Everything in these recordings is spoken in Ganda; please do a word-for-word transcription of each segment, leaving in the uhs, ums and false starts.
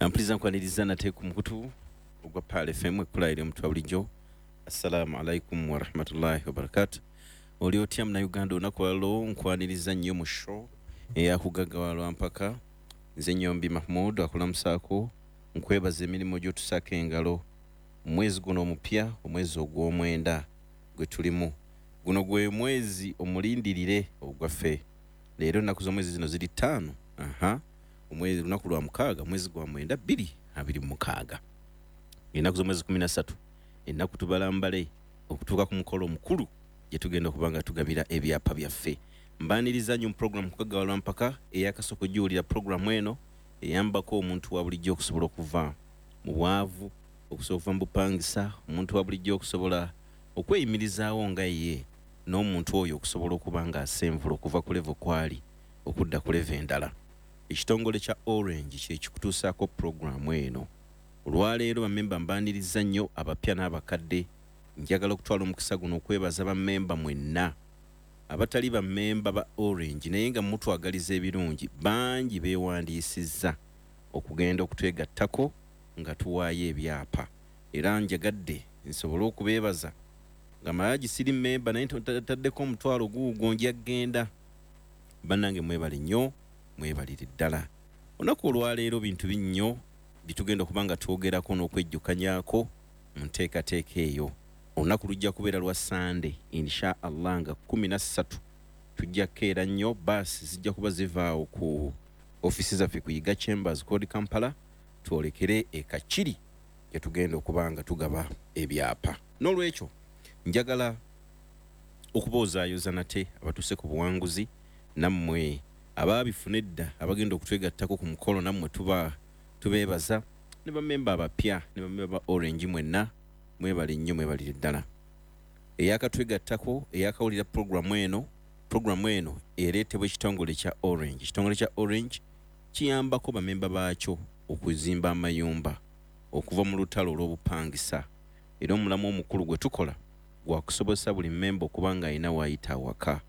Mpuliriza, nkwaniriza nate ku mukutu ogwa Pearl F M, ekkulayira omuntu wa bulijjo. Assalamu alaikum warahmatullahi wabarakatu. Oli otya, Munnayuganda? Olunaku lwalo nkwaniriza nnyo mu show eyakugagawalwa mpaka. Nze Nyombi Mahmud akulamusaako, nkwebaza emirimu gy'otusaako engalo mwezi guno omupya, omwezi ogw'omwenda gwe tulimu. Guno gwe mwezi omulindirire ogwaffe. Leero ennaku z'omwezi zino ziri ttaano, aha, omwezi lunaku lwa mukaaga, mwezi gwa mwenda bbiri abiri mu mukaaga, ennaku z'omwezi kumi na ssatu, ennaku tubalambale okutuuka ku mukolo omukulu gye tugenda okuba nga tugabira ebyapa byaffe. Mbaniriza nnyo mu puroguramu Kugagawalwa Mpaka. Eyakasooka ogiwulira, puroguramu eno eyambako omuntu wa bulijjo okusobola okuva mu bwavu, okusobola okuva mu bupangisa, omuntu wa bulijjo okusobola okweyimirizaawo nga ye, n'omuntu oyo okusobola okuba nga asenvula okuva ku level kwali okudda ku level endala. Ekitongole kya Orange kyekikutuusaako puroguramu eno olwaleero. Bamemba mbaniriza nnyo, abapya n'abakadde. Njagala okutwala omukisa guno okwebaza bamemba mwenna abatali bamemba ba Orange naye nga mutwagaliza ebirungi. Bangi beewandiisizza okugenda okutwegattako nga tuwaayo ebyapa, era njagadde nsobole okubeebaza nga malagi siri memba naye taddeko omutwalo guugwo nja genda. Bannange, mwebale nnyo, mwebalire ddala. Olunaku olwaleero bintu binnyo byetugenda okuba nga twogerako n'okwejjukanyako mu nteekateeka eyo. Olunaku lujja kubeera lwa Sande, insha Allah, nga kumi na ssatu. Tujja kukeera nnyo, baasi zijja kuba zivaawo ku ofiisi zaffe ku Yiga Chambers Code Kampala, twolekere e Kakiri gye tugenda okuba nga tugaba ebyapa. N'olwekyo njagala okuboozaayoza nate abatuuse ku buwanguzi, nammwe abaabifuna edda abagenda okutwegattako ku mukolo, nammwe tuba tubeebaza, ne bamemba abapya ne bamemba ba Orange mwenna, mwebale nnyo, mwebalire ddala. Eyakatwegattako, eyakawulira puroguramu eno, puroguramu eno ereetebwa ekitongole kya Orange. Ekitongole kya Orange kiyambako bamemba baakyo okuzimba amayumba okuva mu lutalo olw'obupangisa, era omulamu omukulu gwe tukola gwakusobozesa buli mmemba okuba nga alina waayita awaka,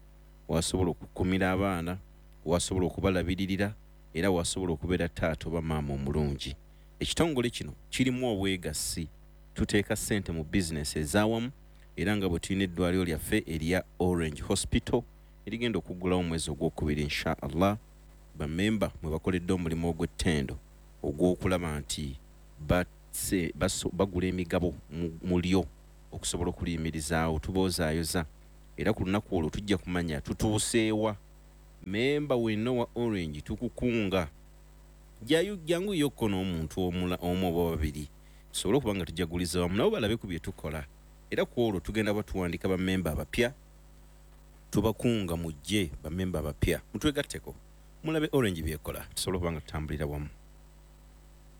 wasobola okukumira abaana, wasobola okubalabiririra, era wasobola okubeera taata oba maama omulungi. Ekitongole kino kirimu obwegassi, tuteeka ssente mu bizinesi ez'awamu, era nga bwe tulina eddwaliro lyaffe erya Orange Hospital erigenda okuggulawo omwezi ogwokubiri, insha Allah. Bamemba mwe bakoledde omulimu ogw'ettendo ogw'okulaba nti bagula emigabo mu lyo okusobola okuliyimirizaawo. Tuboozaayoza, era ku lunaku olwo tujja kumanya tutuuseewa. Memba wenna wa Orange, tukukunga jangu yokko n'omuntu omu oba babiri, tusobole okuba nga tujaguliza wamu nabo, balabe ku bye tukola. Era ku olwo tugenda batuwandika bamemba abapya. Tubakunga mujje, bamemba abapya, mutwegatteko, mulabe Orange byekola, tusobole okuba nga tutambulira wamu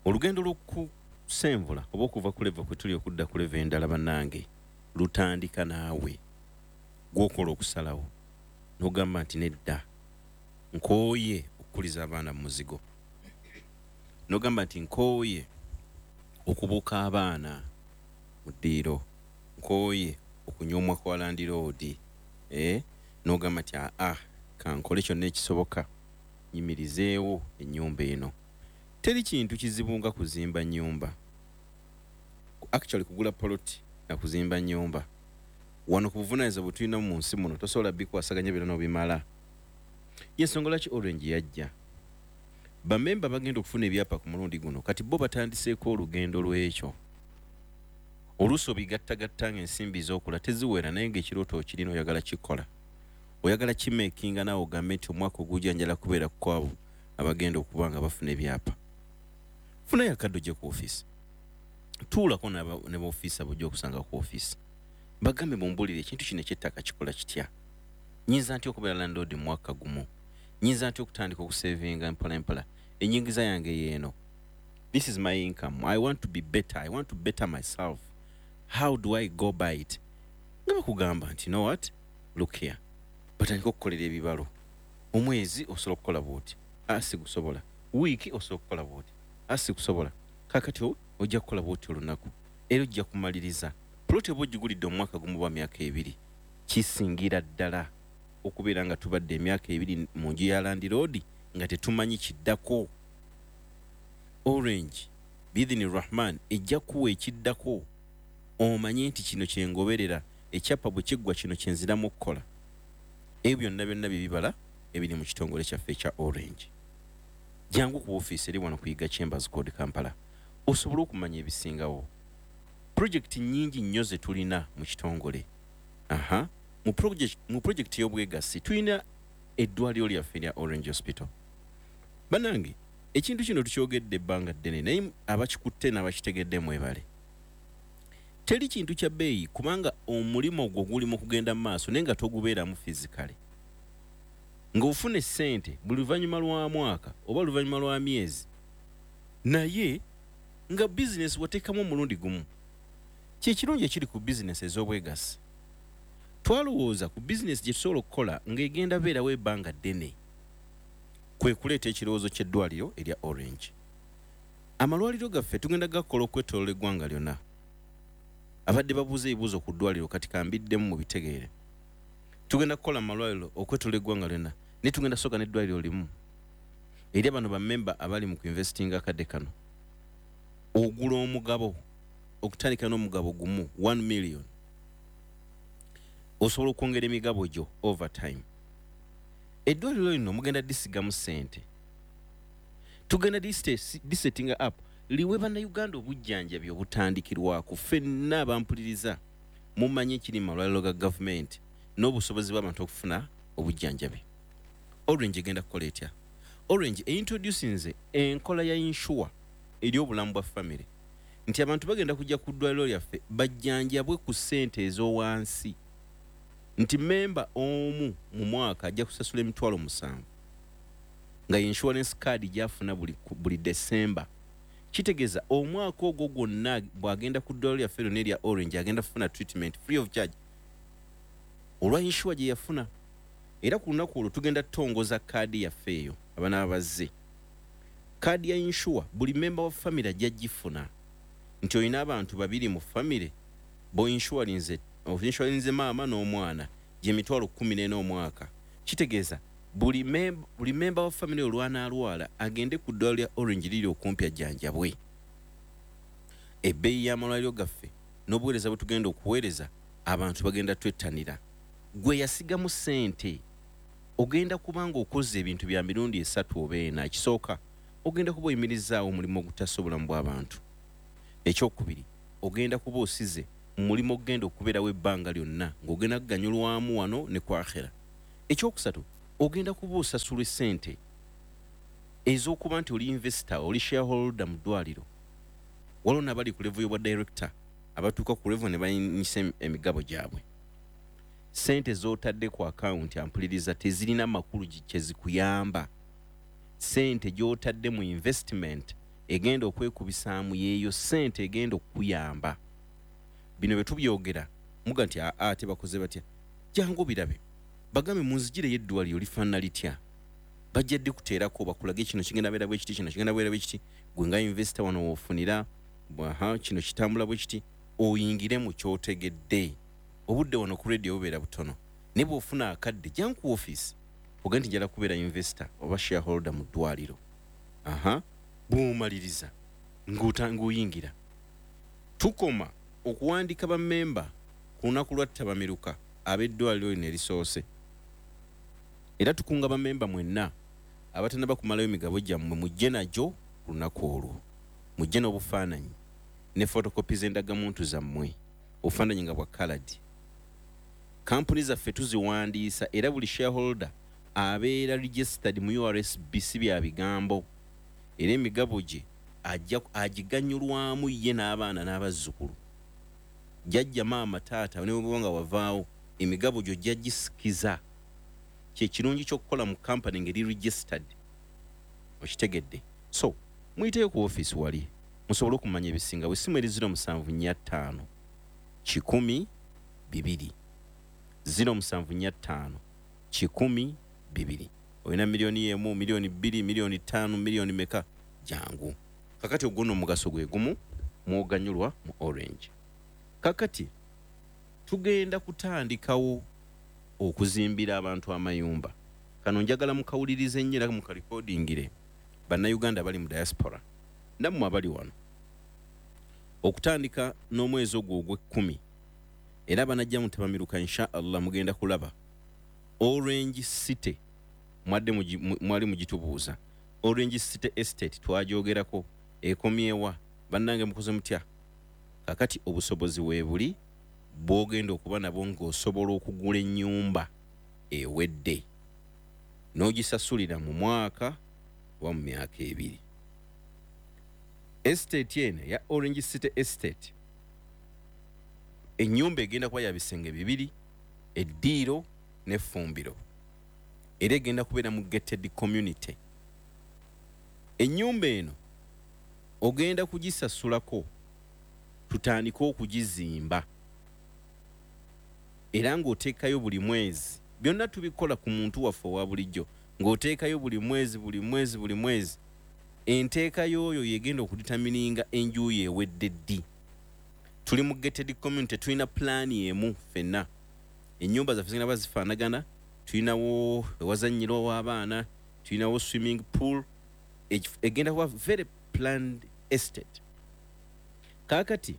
olugendo lw'okusenvula oba okuva ku level kwe tuli okudda ku level endala. Bannange, lutandika naawe gwokola okusalawo n'ogamba nti nedda, nkooye okukuliza abaana mu muzigo, n'ogamba nti nkooye okubuuka abaana mu ddiiro, nkooye okunyoomwa kwa landiroodi, eh? N'ogamba nti aa, kankole kyonna ekisoboka nyimirizeewo ennyumba eno. Teri kintu kizibu nga kuzimba nnyumba, actually kugula poloti na kuzimba nnyumba. Wano ku buvunaanyizibwa bwe tulina mu nsi muno, tosobola bikwasaganya byonna n'obimala. Yensonga lwaki Orange yajja. Bamemba bagenda okufuna ebyapa ku mulundi guno kati bo batandiseeko olugendo lw'ekyo. Oluusi obigattagatta nga ensimbi z'okola teziwera, naye ng'ekirooto okirina, oyagala kikola, oyagala kimakinga, naawe ogambe nti omwaka ogujja njala kubeera kwabo abagenda okuba nga bafuna ebyapa. Funayo akadde ojje ku ofiisi, tuulako ne baofiisa bujja okusanga ku ofiisi, bagambe, "Mumbulire, ekintu kino ekyettaka kikola kitya? Nyinza ntya okubeera landlord mu mwaka gumu? Nyinza ntya okutandika okusevinga mpola mpola? Enyingiza yange yeeno. This is my income. I want to be better. I want to better myself. How do I go by it?" Nga bakugamba nti, "Know what, look here." Batandika okukolera ebibalo. Omwezi osobola okukola bwoti, asi gusobola, wiiki osobola okukola bwoti, asi kusobola, kakati ojja kukola bwoti olunaku, era ojja kumaliriza plot oba ogigulidde omwaka gumu oba myaka ebiri. Kisingira ddala okubeera nga tubadde emyaka ebiri mu nju ya landiroodi nga tetumanyi kiddako. Orange biidhini Rahman ejja kuwa ekiddako, omanye nti kino kyengoberera, ekyapa bwe kiggwa kino kyenziramu okukola. Ebyo byonna byonna bye bibala ebiri mu kitongole kyaffe ekya Orange. Jangu ku ofiisi eri wano ku Yiga Chambers Code, Kampala, osobole okumanya ebisingawo. Pulojekiti nnyingi nnyo ze tulina mu kitongole. Aha, mu project, mu pulojekiti y'obwegassi tulina eddwaliro lyaffe erya Orange Hospital. Bannange, ekintu kino tukyogedde ebbanga ddene, naye abakikutte n'abakitegedde mwebale. Teri kintu kya bbeeyi, kubanga omulimu gwo guli mu kugenda mu maaso naye nga togubeeramu physically, ng'ofuna essente buli luvannyuma lwa mwaka oba luvannyuma lwa myezi, naye nga bizinesi wateekamu omulundi gumu. Kyekirungi ekiri ku bizinesi ez'obwegassi. Twalowooza ku bizinesi gye tusobola okukola ng'egenda beerawo ebbanga ddene, kwe kuleeta ekirowoozo ky'eddwaliro erya Orange. Amalwaliro gaffe tugenda gakola okwetoloola eggwanga lyonna. Abadde babuuza ebibuuzo ku ddwaliro, kati kambiddemu mu bitegeere. Tugenda kukola amalwaliro okwetoloola eggwanga lyonna, naye tugenda sooka n'eddwaliro limu eri bano bammemba abali mu kuinvestinga akadde kano. Ogula omugabo, okutandika n'omugabo gumu, one million, osobola okwongera emigabo gyo over time. Eddwaliro lino mugenda disigamu ssente, tugenda disettinga up liwe Bannayuganda obujjanjabi obutandikirwako. Ffenna abampuliriza mumanyi ekiri mu malwaliro ga gavumenti n'obusobozi bw'abantu okufuna obujjanjabi. Orange egenda kukola etya? Orange eintroducinze enkola ya insure eri obulamu bwa famire, nti abantu bagenda kujja ku ddwaliro lyaffe bajjanjabwe ku ssente ez'owansi, nti memba omu mu mwaka ajja kusasula emitwalo musanvu, nga insurance card gyafuna buli, buli December. Kitegeeza omwaka ogwo gwonna bw'agenda ku ddwaliro lyaffe lyonna erya Orange, agenda kufuna treatment free of charge olwa insure gye yafuna. Era ku lunaku olwo tugenda tutongoza kaadi yaffe eyo. Abanaaba bazze, kaadi ya insure buli memba wa famire ajja gifuna, nti olina abantu babiri mu famire boinsuralinze, oinsuralinze maama n'omwana, gyemitwalo kumi n'ena omwaka. Kitegeeza buli mem- buli memba wa famire olwanaalwala agende ku ddwaliro lya Orange liri okumpi ajjanjabwe. Ebbeeyi y'amalwaliro gaffe n'obuweereza bwe tugenda okuweereza abantu bagenda twettanira. Gwe yasigamu ssente ogenda kubanga okoze ebintu bya mirundi esatu oba ena. Ekisooka, ogenda kuba oyimirizaawo omulimu ogutasa obulamu bw'abantu. Ekyokubiri, ogenda kuba osize mu mulimu ogenda okubeerawo ebbanga lyonna ng'ogenda kuganyulwamu wano ne ku akhera. Ekyokusatu, ogenda kuba osasulwa essente ez'okuba nti oli investor, oli shareholder mu ddwaliro. Waliwo nabali ku level y'obwa director abatuuka ku level ne bayinyisa emigabo gyabwe. Sente z'otadde ku akawunti, ampuliriza, tezirina makulu kyezikuyamba. Sente gy'otadde mu investment egenda okwekubisaamu yeeyo sente egenda okukuyamba. Bino bwe tubyogera muga nti aa, tebakoze batya? Jangu birabe, bagambe munzigireyo eddwaliro lifaanana litya. Bajja ddi kuteerako bakulage kino kigenda beera bwe kiti, kino kigenda beera bwe kiti. Gwe nga investor wano woofunira aha, kino kitambula bwe kiti, oyingire mu kyotegedde. Obudde wano ku radio bubeera butono, naye bw'ofuna akadde jangu ku office oga nti njala kubeera investor oba shareholder mu ddwaliro. Aha, bw'omaliriza ng'oyingira. Tukoma okuwandika bammemba ku lunaku lwa ttabamiruka ab'eddwaliro lino erisoose. Era tukunga bammemba mwenna abatannaba kumalayo migabo gyammwe, mujje nagyo ku lunaku olwo, mujje n'obufaananyi ne fotokopi z'endagamuntu zammwe, obufaananyi nga bwa coloured. Kampuni zaffe tuziwandiisa, era buli shareholder abeera registered mu U R S B, si bya bigambo, era emigabo gye agiganyulwamu ye n'abaana n'abazzukulu, jjajja, maama, taata, ne bweba nga wavaawo, emigabo gyo jja gisikiza. Kyekirungi ky'okukola mu kampani ngeri registered, okitegedde? So muyiteyo ku ofiisi wali musobole okumanya ebisinga. Bwe eri zero musanvu nnya ttaano kikumi bibiri, zero musanvu nnya ttaano kikumi bibiri. Olina miliyoni emu, miliyoni bbiri, miliyoni ttaano, miliyoni meka, jangu. Kakati ogwo omugaso gwe gumu mwoganyulwa mu Orange. Kakati tugenda kutandikawo okuzimbira abantu amayumba. Kano njagala mukawulirize nnyo era mukalikodingire, Bannayuganda bali mu diaspora. Nammwe abali wano, okutandika n'omwezi ogwo ogw'ekkumi, era banajja mutabamiruka, insha Allah mugenda kulaba Orange City. Mwadde mwali mugitubuuza. Orange City Estate twagyogerako, ekomyewa? Bannange, mukoze mutya? Kakati obusobozi weebuli bw'ogenda okuba nabwo ng'osobola okugula ennyumba ewedde n'ogisasulira mu mwaka oba mu myaka ebiri. Estate eno ya Orange City Estate, ennyumba egenda kuba ya bisenge bibiri, eddiiro n'effumbiro, era egenda kubeera mu gated community. Ennyumba eno ogenda kugisasulako tutandike okugizimba, era ng'oteekayo buli mwezi. Byonna tubikola ku muntu waffe owa bulijjo, ng'oteekayo buli mwezi, buli mwezi, buli mwezi. Enteeka y'oyo yegenda okudetermininga enju ye ewedde ddi. Tuli mu gated community, tulina pulaani emu ffenna. Ennyumba zaffe zigenda bazifaanagana. Tulinawo ewazannyirwa w'abaana, tulinawo swimming pool. Egenda kuba very planned estate. Kaakati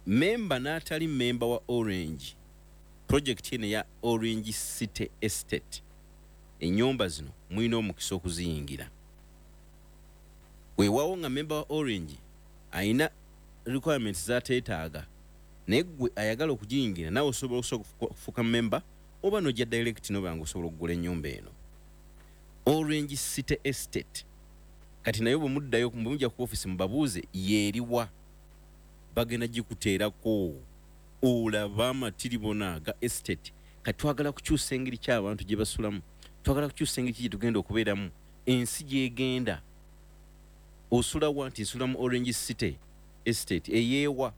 memba n'atali memba wa Orange, project eno eya Orange City Estate, ennyumba zino mulina omukisa okuziyingira. Weewaawo nga memba wa Orange ayina requirements zateetaaga, naye gwe ayagala okugiyingira naawe osobola okufuuka memba oba nojja direct noba nga osobola okugula ennyumba eno, Orange City Estate. Kati naye bwe muddayo, bwe mujja ku office, mubabuuze yeeriwa, bagenda gikuteerako olaba amatiribona aga estate. Kati twagala kukyusa engeri ky'abantu gye basulamu, twagala kukyusa engeri ki gye tugenda okubeeramu, ensi gyegenda. Osulawa? Nti nsula mu Orange City Estate. Eyeewa?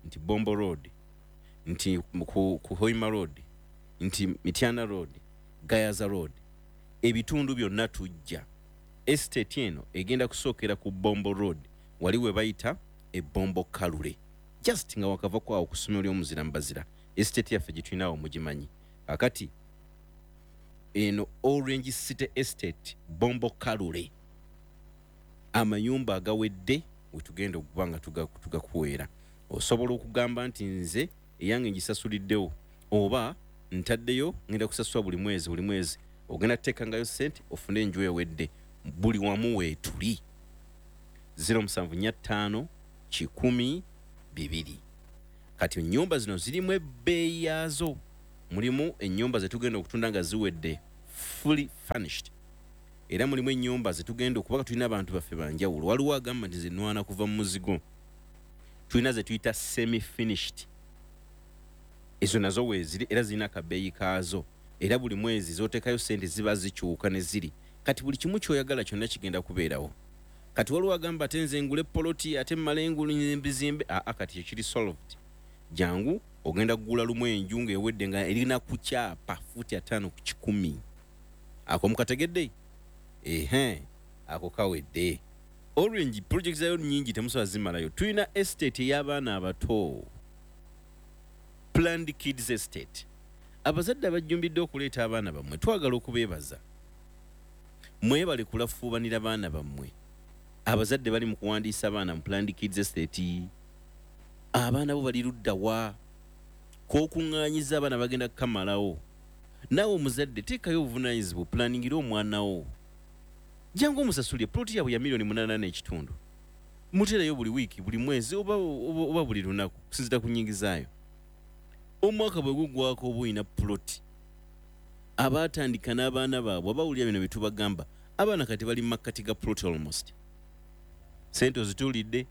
Nti Bombo Road, nti ku, ku Hoima Road, nti Mityana Road, Gayaza Road, ebitundu byonna tujja. Estate eno egenda kusookera ku Bombo Road, wali we bayita ebombo Kalule, just nga wakava kwawo ku ssomero ly'omuzira mbazira. Estate yaffe gye tulinawo mugimanyi. Kakati eno Orange City Estate, Bombo Kalule, amayumba agawedde wetugenda okuba nga tugakuweera. Osobola okugamba nti nze eyange ngisasuliddewo, oba ntaddeyo, ngenda kusasula buli mwezi, buli mwezi ogenda kuteekangayo sente ofune enju ewedde. Buli wamu weetuli. zero musanvu nnya ttaano kikumi bibiri. Kati ennyumba zino zirimu ebbeeyi yaazo. Mulimu ennyumba zetugenda okutunda nga ziwedde, fully furnished, era mulimu ennyumba zetugenda okuba tulina abantu baffe banjawulo. Waliwo agamba nti zinwana kuva mu muzigo. Tulina ze tuyita semi finished, ezo nazo weeziri, era zirina akabeeyi kaazo, era buli mwezi zoteekayo sente ziba zikyuka ne ziri. Kati buli kimu kyoyagala kyonna kigenda kubeerawo. Kati waliwo agamba ate nze ngule poloti, ate mmale engulu mbizimbe. Aa, kati ekiri solved. Jangu, ogenda kugula lumu enju ng'ewedde, nga erina ku kyapa fuuti ataano ku kikumi. Ako mukategedde? Ehe, ako kawedde. Orange project zayo nyingi, temusobola zimalayo. Tulina estate ey'abaana abato, Planned Kids Estate. Abazadde abajjumbidde okuleeta abaana bammwe, twagala okubeebaza, mwebale kulafuubanira baana bammwe. Abazadde bali mu kuwandiisa abaana mu Planned Kids Estate, abaana bo bali ludda wa k'okuŋŋaanyiza abaana bagenda kukamalawo. Naawe omuzadde teekayo obuvunaanyizibwa, planningira omwana wo. Jangu omusasulye ploti yaabwe ya miliyoni munaana n'ekitundu, muteerayo buli wiiki, buli mwezi, oba, oba, oba buli lunaku kusinzira ku nnyingizaayo. Omwaka bwe gugwako oba olina ploti. Abaatandika n'abaana baabwe abawulira bino bye tubagamba, abaana kati bali mu makkati ga ploti almost. Sente ozituulidde,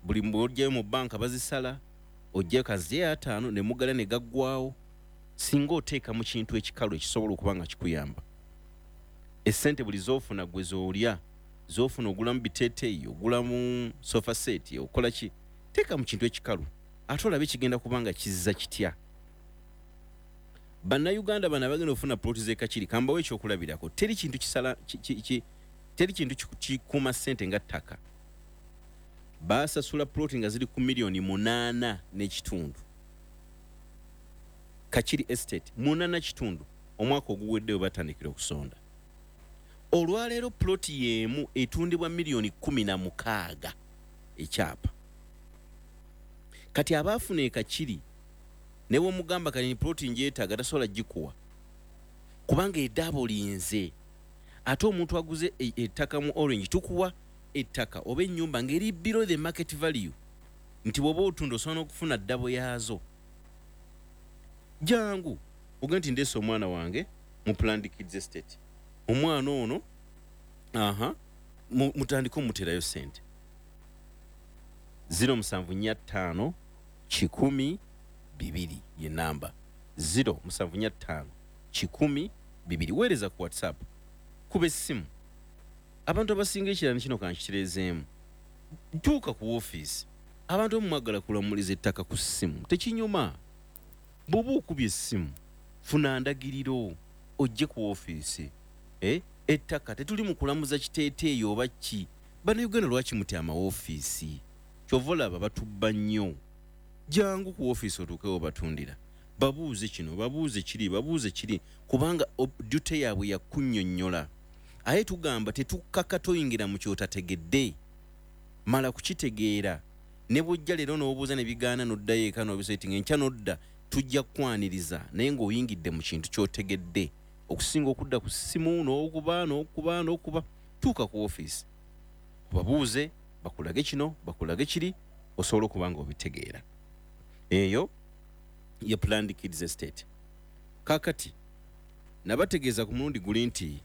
buli bw'ojjayo mu banka bazisala, ojjayo kaziye ataano ne mugala ne gaggwawo. Singa oteeka mu kintu ekikalu ekisobola okuba nga kikuyamba, essente buli z'ofuna gwe z'olya, z'ofuna ogulamu biteeteeyi, ogulamu sofa set, okola ki, teeka mu kintu ekikalu ate olabe kigenda kuba nga kizza kitya. Bannayuganda bano abagenda okufuna ploti z'e Kakiri, kambawo ekyokulabirako. Teri kintu kisala ki, ki, ki, teri kintu kikuuma ssente nga ttaka. Baasasula ploti nga ziri ku miliyoni munaana n'ekitundu, Kakiri Estate, munaana kitundu. Omwaka oguwedde we batandikira okusonda, Olwaleero ploti y'emu etundibwa miliyoni kumi na mukaaga ekyapa. Kati abaafuna ekakiri ne bw'omugamba kati ploti njeetaaga, tasobola gikuwa kubanga edabolinze. Ate omuntu aguze ettaka mu Orange, tukuwa ettaka oba ennyumba ng'eri below the market value, nti bw'oba otunda osobola n'okufuna double yaazo. Jangu oge nti ndeese omwana wange mu Planned Kids Estate, omwana ono aha mutandike omuterayo sente. Zero musanvu nnya ttaano kikumi bibiri ye namba, zero musanvu nnya ttaano kikumi bibiri. Weereza ku WhatsApp, kuba essimu. Abantu abasinga ekirani kino kankitereezeemu, tuuka ku woofiisi. Abantu omumwagala kulamuliza ettaka ku ssimu tekinyuma. Bw'oba okubye essimu, funa ndagiriro ojje ku woofiisi. Eh? Ettaka tetuli mu kulamuza kiteeteeyi oba ki. Bannayuganda lwaki mutya amawoofiisi? Kyova olaba batubba nnyo. Jangu ku woofiisi otuukewo batundira, babuuze kino, babuuze kiri, babuuze kiri, kubanga duty yaabwe yakunnyonnyola. Aye tugamba tetukkaka toyingira mu kyotategedde, mala kukitegeera. Ne bw'ojja leero n'obuuza ne bigaana, n'oddayo eka n'obisetinga, enkya n'odda, tujja kukwaniriza naye ng'oyingidde mu kintu ky'otegedde, okusinga okudda ku ssimu n'okuba n'okuba n'okuba. Tuuka ku woofiisi obabuuze, bakulage kino, bakulage kiri, osobola okuba nga obitegeera. Eyo ye Planned Kids Estate. Kaakati nabategeeza ku mulundi guli nti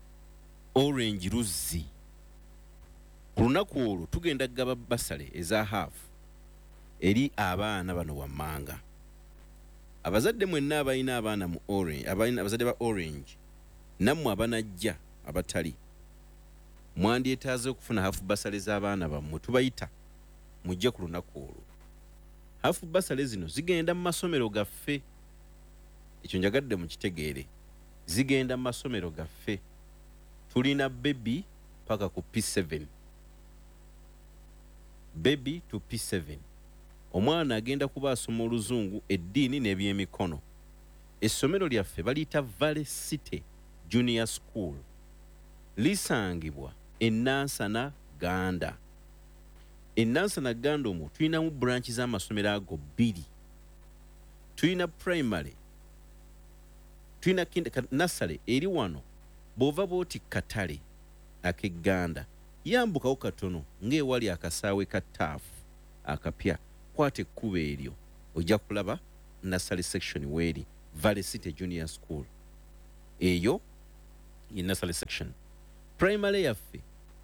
Orange luzzi. Ku lunaku olwo tugenda kugaba bursary eza half eri abaana bano wammanga. Abazadde mwenna abalina abaana mu Orange, abalina abazadde ba Orange, nammwe abanajja abatali, mwandyetaaze okufuna half bursary z'abaana bammwe. Tubayita mujje ku lunaku olwo. Half bursary zino zigenda mu masomero gaffe, ekyo njagadde mukitegeere, zigenda mu masomero gaffe. Tulina baby paka ku P seven, baby to P seven. Omwana agenda kuba asoma oluzungu, eddiini n'ebyemikono. Essomero lyaffe baliyita Valley City Junior School, lisangibwa e Nansana Ganda. E Nansana Ganda omwo tulinamu branch z'amasomero ago bbiri. Tulina primary, tulina nursery eri wano. Bw'ova bw'oti katale ak'egganda, yambukawo katono ng'ewali akasaawe ka taafu akapya, kwata ekkubo eryo ojja kulaba nursery section weeri, Valley City Junior School. Eyo ye nursery section. Primary yaffe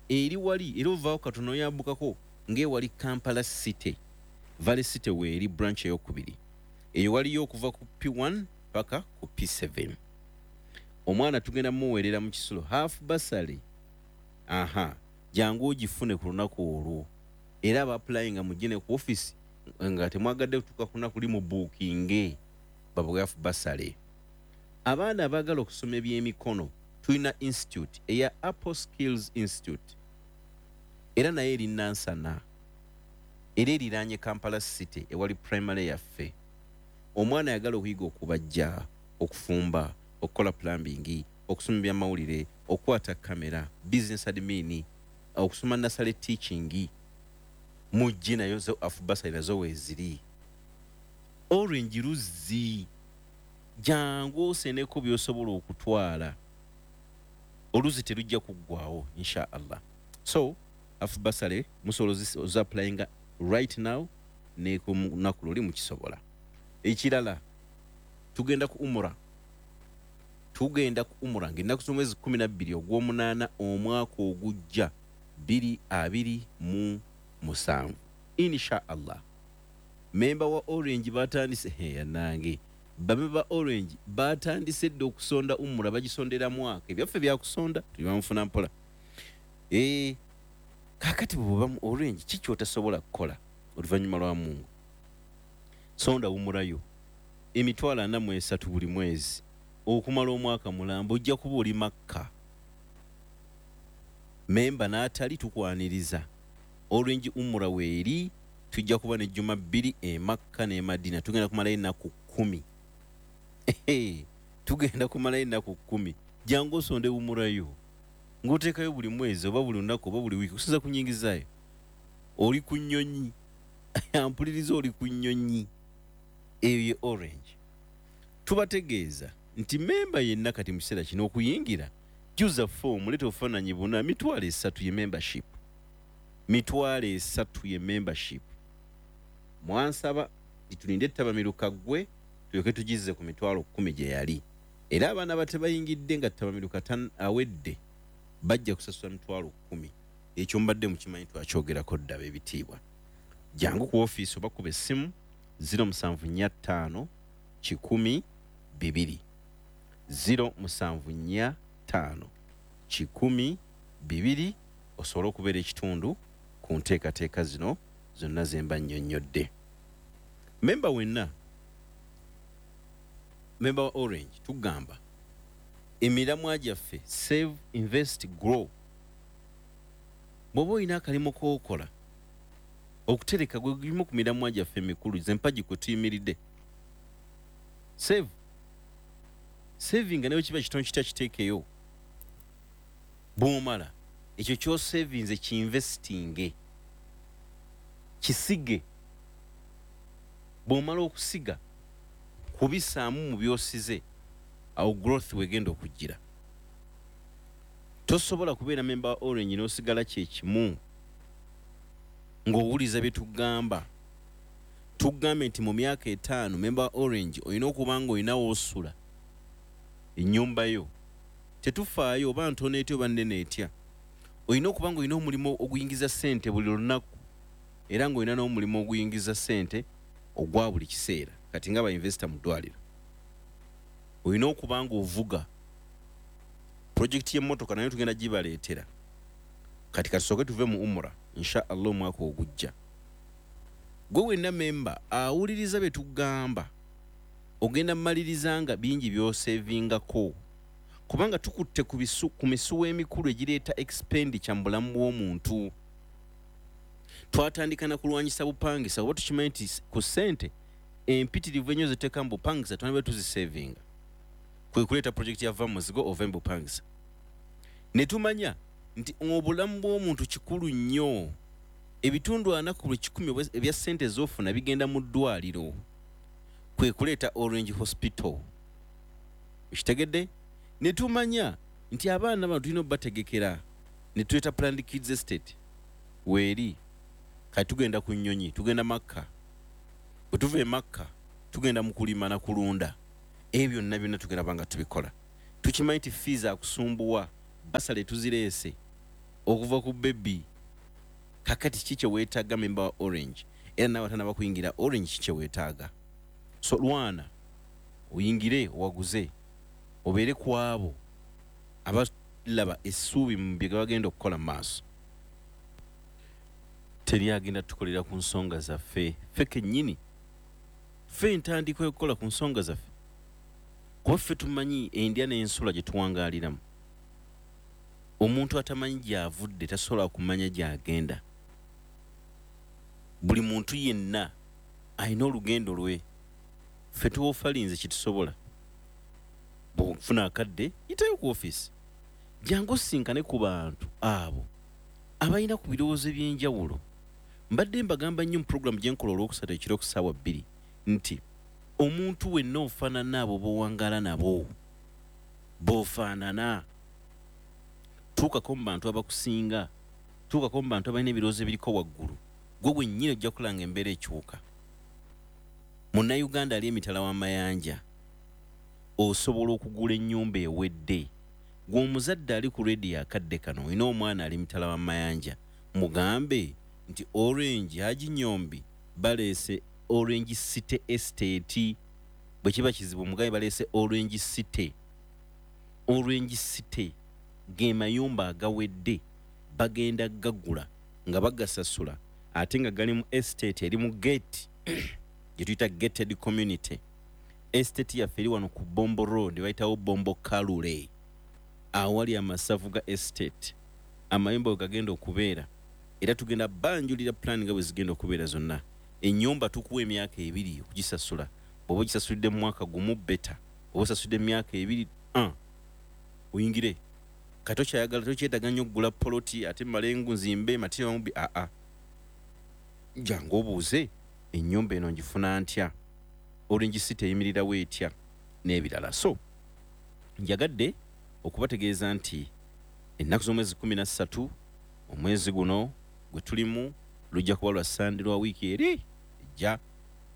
eri wali era ovaawo katono oyambukako ng'ewali Kampala City, Valley City weeri branch eyokubiri. Eyo waliyo okuva ku P one paka ku P seven. Omwana tugenda muweerera mu kisulo half bursary. Aha, jangu ogifune ku lunaku olwo. Era aba applyinga mugende ku office nga temwagadde kutuuka ku lunaku limu bookinge babawe half bursary. Abaana abaagala okusoma ebyemikono tulina institute eya Apple Skills Institute, era naye eri Nansana, era eriraanye Kampala City ewali primary yaffe. Omwana ayagala okuyiga okubajja, okufumba, okukola plumbing, okusoma ebyamawulire, okukwata kamera, business admin, okusoma nursery teaching, mujje nayo zo half bursary nazo weeziri. Orange luzzi, jangu oseneko by'osobola okutwala, oluzzi terujja kuggwawo insha Allah. So half bursary musobola ozi-applyinga right now ne ku lunaku luli mukisobola. Ekirala, tugenda ku umura. Tugenda ku umura ng'ennaku z'omwezi kkumi na bbiri ogw'omunaana omwaka ogujja bbiri abiri mu musanvu insha Allah. Memba wa Orange batandise, yanange bamemba ba Orange batandise dda okusonda umura, bagisondera mwaka. Ebyaffe byakusonda tubimufuna mpola. Eh, kaakati bw'oba mu Orange kiki otasobola kukola oluvannyuma lwa Mungu? Sonda umurayo emitwalo ana mu esatu buli mwezi okumala omwaka mulamba, ojja kuba oli Makka. Memba n'atali tukwaniriza. Orange umura weeri, tujja kuba ne jjuma bbiri e Makka ne Madina. Tugenda kumalayo ennaku kkumi. Tugenda kumalayo ennaku kkumi. Jangu osonde umurayo. Ng'oteekayo buli mwezi oba buli lunaku oba buli wiiki okusinza ku nnyingizaayo. Oli ku nnyonyi, ampuliriza, oli ku nnyonyi eyo ye Orange. Tubategeeza nti memba yenna kati mu kiseera kino okuyingira, juza foomu, leeta obufaananyi buna. Mitwalo esatu ye membership, mitwalo esatu ye membership. Mwansaba nti tulinde ttabamiruka ggwe tulyoke tugizze ku mitwalo kkumi gye yali, era abaana batebayingidde nga ttabamiruka awedde bajja kusasula mitwalo kkumi. Ekyo mbadde mukimanyi, twakyogerako dda. B'ebitiibwa, jangu ku ofiisi oba kuba essimu zero musanvu nnya ttaano kikumi bibiri, zero musanvu nnya ttaano kikumi bibiri, osobole okubeera ekitundu ku nteekateeka zino zonna ze mba nnyonnyodde. Memba wenna, memba wa Orange, tugamba emiramwa gyaffe: save, invest, grow. Bw'oba olina akalimu k'okola, okutereka gwe gulimu ku miramwa gyaffe emikulu, zempagi kwe tuyimiridde. Save, savinga, naye kiba kitono kitya, kiteekeyo. Bw'omala ekyo kyosavinze, kiinvestinge, kisige. Bw'omala okusiga, kubisaamu mu byosize, awo growth wegenda okujjira. Tosobola kubeera memba wa Orange n'osigala kyekimu ng'owuliza bye tugamba. Tugambe nti mu myaka etaano, memba wa Orange olina okuba nga olina woosula, ennyumba yo, tetufaayo oba ntono etya oba nnene etya. Olina okuba nga olina omulimu oguyingiza ssente buli lunaku, era ng'olina n'omulimu oguyingiza ssente ogwa buli kiseera. Kati nga bainvesita mu ddwaliro, olina okuba nga ovuga. Projekiti y'emmotoka nayo tugenda gibaleetera. Kati katusooke tuve mu umura, insha Allah, omwaka ogujja. Gwe wenna memba awuliriza bye tugamba, ogenda mmaliriza nga bingi by'osevingako, kubanga tukutte ku bisu, ku misuwa emikulu egireeta expenditure mu bulamu bw'omuntu. Twatandika na kulwanyisa bupangisa, oba tukimanyi nti ku ssente empitirivu ennyo zetuteeka mu bupangisa twaniba tuzisevinga, kwe kuleeta projekiti ya Va Muzigo ova mu bupangisa. Ne tumanya nti obulamu bw'omuntu kikulu nnyo. Ebitundu ana ku buli kikumi ebya ssente z'ofuna bigenda mu ddwaliro, kwe kuleeta Orange Hospital. Ekitegedde, ne tumanya nti abaana bano tulina obategekera, ne tuleeta Planned Kids Estate weeri. Kati tugenda ku nnyonyi, tugenda Makka. Bwe tuva e Makka, tugenda mu kulima na kulunda. Ebyo byonna byonna tugenda banga tubikola. Tukimanyi nti fees akusumbuwa, bursary tuzireese okuva ku baby. Kakati ki kyeweetaaga, memba wa Orange, era nawe atanaba kuyingira Orange, ki kyeweetaaga? So lwana oyingire, owaguze, obeere ku abo abalaba essuubi mu bye bagenda okukola mu maaso. Teri agenda tukolera ku nsonga zaffe, ffe kennyini ffe entandikwa y'okukola ku nsonga zaffe, kuba ffe tumanyi endya n'ensula gye tuwangaaliramu. Omuntu atamanyi gy'avudde tasobola kumanya gy'agenda. Buli muntu yenna alina olugendo lwe. Ffe tuwofalinze kyetusobola. Bw'ofuna akadde, yitayo ku ofiisi, jangu osinkane ku bantu abo abalina ku birowoozo ebyenjawulo. Mbadde mbagamba nnyo mu puroguramu gye nkola olwokusatu ekiro ku ssaawa bbiri nti omuntu wenna ofaanana abo b'owangaala nabo, b'ofaanana. Tuukako mu bantu abakusinga, tuukako mu bantu abalina ebirowoozo ebiriko waggulu, gwe wennyini ojja kulanga embeera ekyuka. Munnayuganda ali emitala w'amayanja, osobola okugula ennyumba ewedde. Gwe omuzadde ali ku rediyo akadde kano, olina omwana ali mitala w'amayanja, mugambe nti Orange Haji Nyombi baleese Orange City Estate. Bwe kiba kizibu, mugambe baleese Orange City. Orange City ge mayumba agawedde, bagenda gagula nga bagasasula, ate nga gali mu estate eri mu gate gye tuyita gated community. Estate yaffe eri wano ku Bombo Road, bayitawo Bombo Kalule, awali amasavu ga estate, amayumba we gagenda okubeera. Era tugenda banjulira plan nga bwe zigenda okubeera zonna. Ennyumba tukuwa emyaka ebiri okugisasula. Bw'oba ogisasulidde mu mwaka gumu, better. Oba osasulidde mu myaka ebiri, uh, oyingire. Kati okyayagala tokyetaaga nnyo okugula poloti ate malengu nzimbe material mubi, aa jangu obuuze ennyumba eno ngifuna ntya, Orange City eyimirirawo etya n'ebirala. So njagadde okubategeeza nti ennaku z'omwezi kumi na ssatu omwezi guno gwe tulimu lujja kuba lwa Sande lwa wiiki eri ejja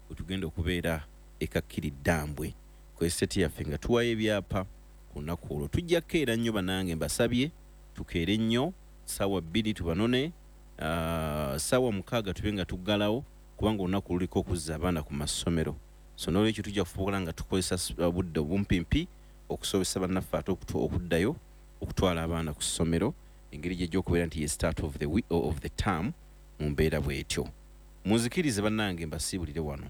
bwe tugenda okubeera e Kakiri Ddambwe ku estate yaffe nga tuwayo ebyapa ku lunaku olwo. Tujja kukeera nnyo bannange, mbasabye tukeere nnyo, ssaawa bbiri tubanone, uh, ssaawa mukaaga tube nga tuggalawo kubanga olunaku luliko okuzza abaana ku masomero. So n'olwekyo tujja kufuba nga tukozesa obudde obumpimpi okusobozesa bannaffe ate okuddayo okutwala abaana ku ssomero engeri gyejja okubeera nti ye start of the week, of the term mu mbeera bw'etyo. Munzikirize bannange mbasiibulire wano.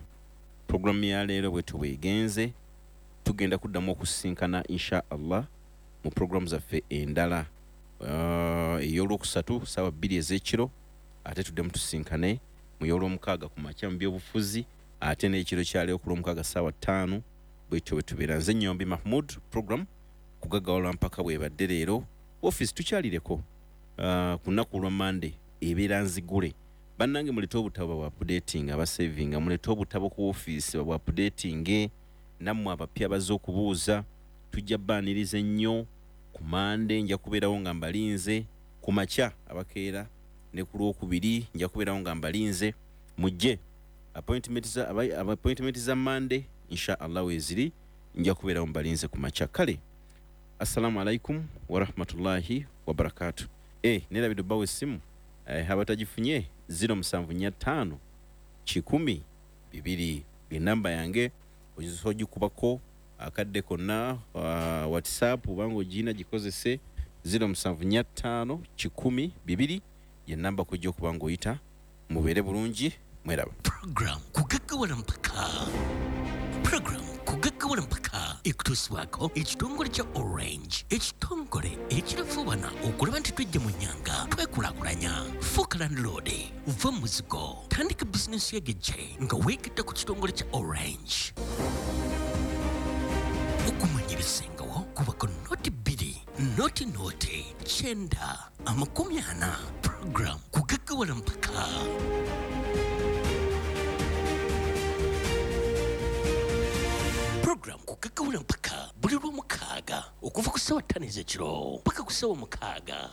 Puroguramu ya leero bwetyo bwegenze, tugenda kuddamu okusisinkana insha Allah mu puroguramu zaffe endala uh, ey'olwokusatu ssaawa bbiri ez'ekiro, ate tuddemu tusisinkane mu y'olwomukaaga ku makya mu byobufuzi, ate n'ekiro kyaleero ku lwomukaaga ssaawa ttaano. Bwetyo bwe tubeera. Nze Nnyombi Mahmud, program Kugaggawala Mpaka bwebadde leero. Office tukyalireko uh, ku lunaku olwa Monday ebeera nzigule. Bannange mulete obutabo bwa updating, abasavinga mulete obutabo ku office bwa updating, nammwe abapya bazze okubuuza tujja baaniriza ennyo. Ku Mande nja kubeerawo nga mbalinze, ku makya abakeera ne ku lwokubiri nja kubeerawo nga mbalinze, mujje. Appointment za appointment za Mande insha Allah weeziri, nja kubeerawo mbalinze ku makya. Kale assalamu alaikum warahmatullahi wabarakatu. Eh, nerabidde obbawa essimu eh, abatagifunye ziro musanvu nnya ttaano kikumi bibiri enamba yange ogisobola ogikubako akadde konna, uh, WhatsApp obanga ogirina gikozese ziro musanvu nnya ttaano kikumi bibiri ye namba kujja okuba ng'oyita. Mubeere bulungi, mweraba. Program Kugaggawala Mpaka, Program Kugaggawala Mpaka ekutuusibwako ekitongole kya Orange, ekitongole ekirafuubana okulaba nti twejja mu nnyanga twekulaakulanya. Fuuka landlord, va mu muzigo, tandika bizinensi y'egejje nga weegatta ku kitongole kya Orange. Okumanya ebisingawo kubako noti bbiri noti noti kyenda amakumi ana. Program Kugaggawala Mpaka. Program Kugaggawala Mpaka buli lwomukaaga okuva ku ssaawa ttaano ez'ekiro paka ku ssaawa mukaaga.